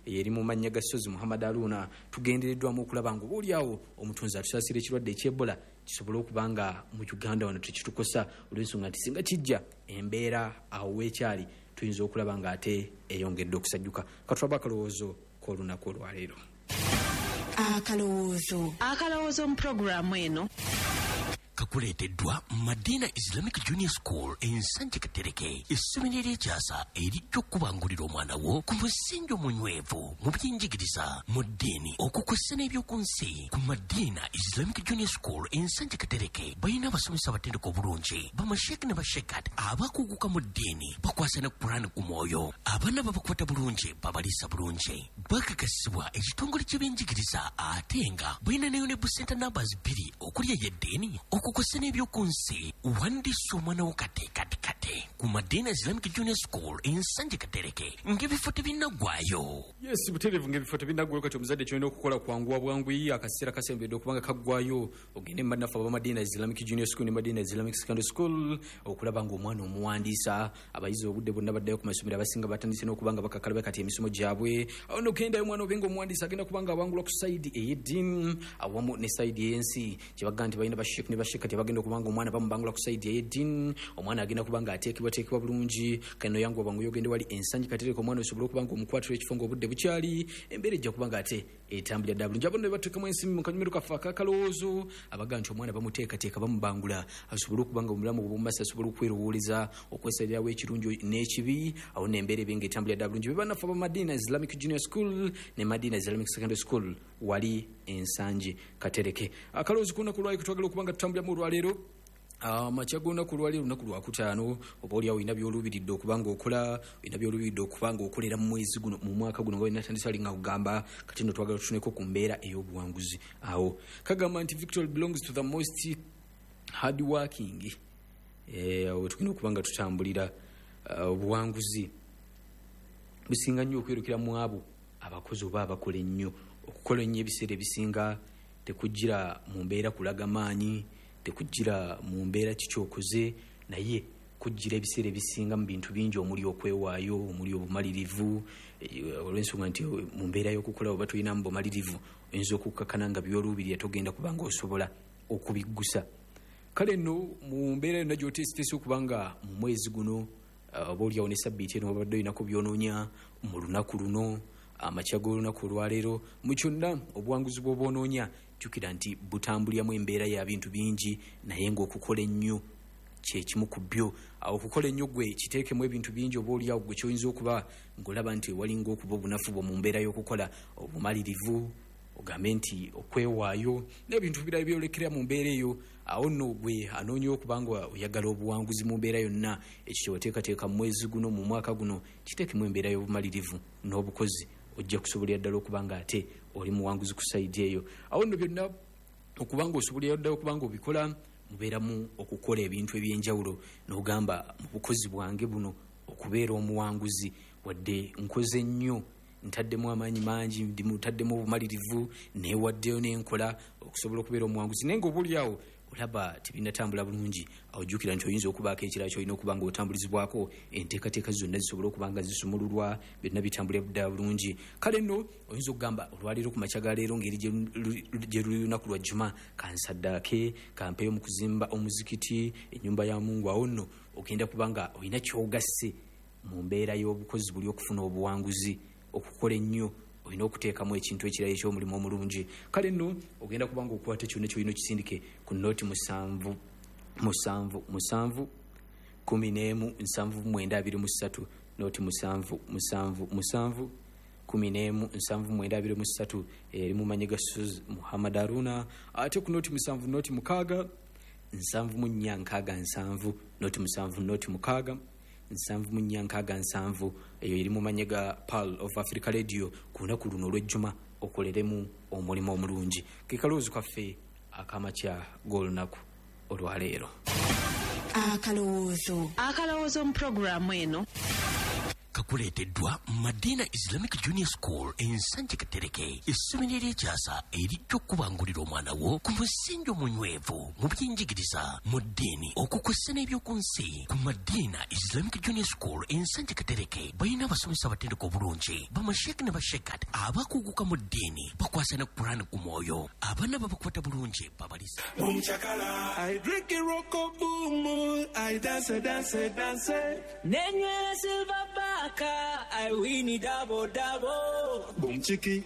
Eri mu mannya ga Sozi Muhammad Aruna. Tugendereddwamu okulaba nga oba oliawo omutonzi atusaasira ekirwadde eky'Ebola kisobole okuba nga mu Uganda wano tekitukosa, olw'ensonga nti singa kijja embeera awo weekyali tuyinza okulaba nga ate eyongedde okusajjuka. Katulaba akalowoozo k'olunaku olwaleero. Akalowoozo. Akalowoozo mu pulogulaamu eno kakuleeteddwa Madina Islamic Junior School Ensanje Katereke, essomero ery'ekyasa erijja okukubangulira omwana wo ku musingi omunywevu mu byenjigiriza, mu ddiini, okukwessa n'ebyoku nsi. Ku Madina Islamic Junior School Ensanje Katereke balina abasomesa abatendeka obulungi, bamasheek ne bashekat abakuguka mu ddiini, bakwasa ne Kurani ku mwoyo. Abaana babakwata bulungi, babaliisa bulungi, bakakasibwa ekitongole ky'ebyenjigiriza, ate nga balina ne UNEB center numbers 2 okuli ey'eddiini, okukwessa n'ebyoku nsi. Wandiisa omwana wo kate kate kate ku Madina Islamic Junior School Ensanje Katereke ng'ebifo tebinnaggwayo. Yes, butereevu ng'ebifo tebinnaggwayo. Kati omuzadde kyolina okukola kwanguwa bwanguyi, akaseera kasembedde okubanga kaggwayo, ogende mu bannaffe aba Madina Islamic Junior School ne Madina Islamic Secondary School okulaba ng'omwana omuwandiisa. Abayizi obudde bwonna baddayo ku masomero, abasinga batandise n'okuba nga bakakalaba kati emisomo gyabwe. Awo nno gendayo omwana obe nga omuwandiisa, agenda kuba nga awangulwa ku side ey'eddiini awamu ne side ey'ensi. Kyebaga nti balina basheek ne basheek kati abagenda okuba nga omwana bamubangula ku side ey'eddiini, omwana agenda kuba nga ateekebwateekebwa bulungi. Kano yanguwa bwangu ogende wali Ensangi Katereka, omwana osobole okuba nga omukwatira ekifo ng'obudde bukyali, embeera ejja kuba nga ate etambulira ddala bulungi. Abo nno bebateekamu ensimbi mu kanyumiro kaffe akakalowoozo, abaga nti omwana bamuteekateeka, bamubangula asobole okuba nga omulamu obw'omu maaso asobola okwerowooleza, okwesalirawo ekirungi n'ekibi. Awo nno embeera ebe nga etambulira ddala bulungi. Be bannaffe aba Madina Islamic Junior School ne Madina Islamic Secondary School wali Ensangi Katereke. Akalowoozo k'olunaku olwaleero twagala okuba nga tutambuliramu olwaleero, amakya g'olunaku olwaleero, olunaku lwakutaano, oba oliawo olina byoluubiridde okuba nga okola, olina byoluubiridde okuba nga okolera mu mwezi guno, mu mwaka guno, nga wenatandise ali nga kugamba. Kati nno twagala tutuneko ku mbeera ey'obuwanguzi. Awo kagamba nti victory belongs to the most hard working. Awo tugenda okuba nga tutambulira, obuwanguzi businga nnyo okwerukira mu abo abakozi oba abakola ennyo. Okukola ennyo ebiseera ebisinga tekujjira mu mbeera kulaga maanyi, tekujjira mu mbeera kikyokoze, naye kujjira ebiseera ebisinga mu bintu bingi omuli okwewaayo, omuli obumalirivu, olw'ensonga nti mu mbeera y'okukola oba tolinamu bumalirivu, oyinza okukkakana nga byoluubirira togenda kuba nga osobola okubiggusa. Kale nno mu mbeera yonna gy'oteeseteese okuba nga mu mwezi guno, oba oliawo ne sabbiiti eno wabadde olinako byonoonya mu lunaku luno, amakya g'olunaku olwaleero, mu kyonna obuwanguzi bw'oba onoonya, jjukira nti butambuliramu embeera ya bintu bingi, naye ng'okukola ennyo kyekimu ku byo. Awo okukola ennyo gwe kiteekemu ebintu bingi, oba oliawo gwe kyoyinza okuba ng'olaba nti walinga okuba obunafu bwo mu mbeera y'okukola, obumalirivu, ogambe nti okwewaayo n'ebintu birala byolekera mu mbeera eyo. Awo nno gwe anoonya okuba nga oyagala obuwanguzi mu mbeera yonna, ekyo kyewateekateeka mu mwezi guno, mu mwaka guno, kiteekemu embeera y'obumalirivu n'obukozi, ojja kusobolera ddala okuba nga ate oli muwanguzi ku side eyo. Awo nno byonna okuba nga osobolera ddala okuba nga obikola, mubeeramu okukola ebintu ebyenjawulo n'ogamba, mu bukozi bwange buno okubeera omuwanguzi, wadde nkoze nnyo, ntaddemu amaanyi mangi, ntaddemu obumalirivu, neewaddeyo n'enkola okusobola okubeera omuwanguzi, naye nga oba oliawo olaba tebinatambula bulungi, awo jjukira nti oyinza okubaako ekirala kyolina okuba nga otambulizibwako, enteekateeka zonna zisobole okuba nga zisumululwa, byonna bitambulira ddala bulungi. Kale nno oyinza okugamba olwaleero, ku makya ga leero, ngeri gye luli lunaku lwa Juma, kansaddaake, kampeeyo mu kuzimba omuzikiti, ennyumba ya Mungu. Awo nno ogenda kuba nga olina kyogasse mu mbeera y'obukozi buli okufuna obuwanguzi. Okukola ennyo olina okuteekamu ekintu ekirala ekyomulimu omulungi. Kale nno ogenda kuba nga okwata kyonna kyolina, okisindike ku nooti 7 7 7 11 79 23, nooti 7 7 7 11 79 23, eri mu manyi ga Suz Muhammad Aruna. Ate ku nooti 7 nooti 6 74 67, nooti 7 nooti 6 74 67, eyo eri mu manyi ga Pearl of Africa Radio. Ku lunaku luno olw'ejjuma okoleremu omulimu omulungi. Ke kalowoozo kaffe akamakya g'olunaku olwaleero. Akalowoozo. Akalowoozo mu pulogulaamu eno. Kakuleeteddwa Madina Islamic Junior School Ensanje Katereke, essomero ery'ekyasa erijja okubangulira omwana wo ku musingi omunywevu mu byenjigiriza, mu ddiini, okukwessa n'ebyoku nsi. Ku Madina Islamic Junior School Ensanje Katereke balina abasomesa abatendeka obulungi, bamasheeke ne bashekat abakuguka mu ddiini, bakwasa ne Kurani ku mwoyo. Abaana babakwata bulungi, babalisa. Boom chakala. I drink it rocko boom boom. I dance dance dance. Nenywera silver baka, I win double double. Boom chiki.